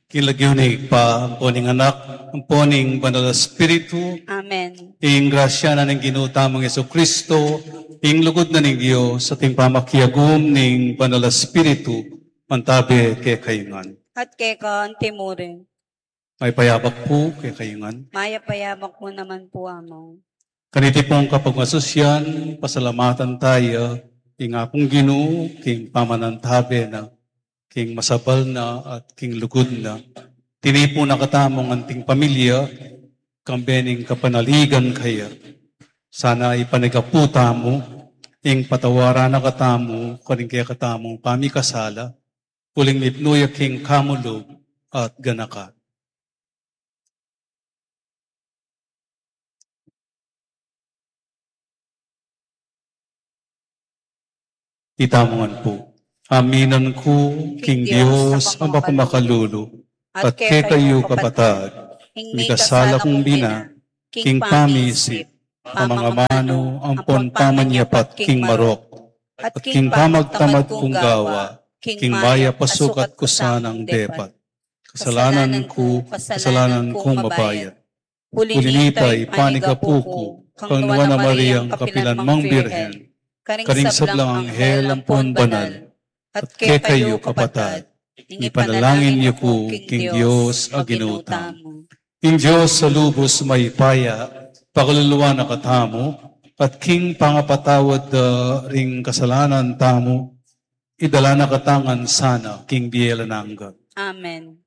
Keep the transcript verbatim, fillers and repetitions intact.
King lagyu ning Ibpa, ampo ning Anak, ampo ning Banal a Espiritu. Amen. Ing grasya na ning Ginu tamung Jesucristo, ing lugud na ning Dios, at ing pamakiagum ning Banal a Espiritu, mantabe kekayu ngan. At keka antimurin. Mayap a abak pu kekayu ngan. Mayap a abak pu naman pu, Among. Kaniti pung kapagmasusian, pasalamatan taya ing Apung Ginu king pamanantabe na, king masabal na at king lugud na. Tinipun na katamu ngan anting pamilya, kambe ning kapanaligan kaya. Sana ipanyawad pu tamu, ing patawaran na katamu, karing kekatamung pamikasala, uling mipnu ya king kamulug at ganaka. Itamu ngan pu. Aminan ku king Dios a mapamakalulu, at kekayu kapatad, mikasala kung bina, king pamisip, pamangamanu, ampon pamanyapat king marok, at king pamagtamad kung gawa, king mayap a sukat ku sanang depat. Kasalanan ku, kasalanan kung mabayat. Uli na nita, ipanyawad ku kang Nuan a Mariang kapilanmang Birhen, karing sablang anghel ampon banal, at kekayu kapatad, ipanalangin yu ku king Dios a Ginu tamu. Ing Dios a lubus mayupaya, pakaluluan na katamu, at king pangapatawad da ring kasalanan tamu, idala na katamu ngan sana king bie alang angga. Amen.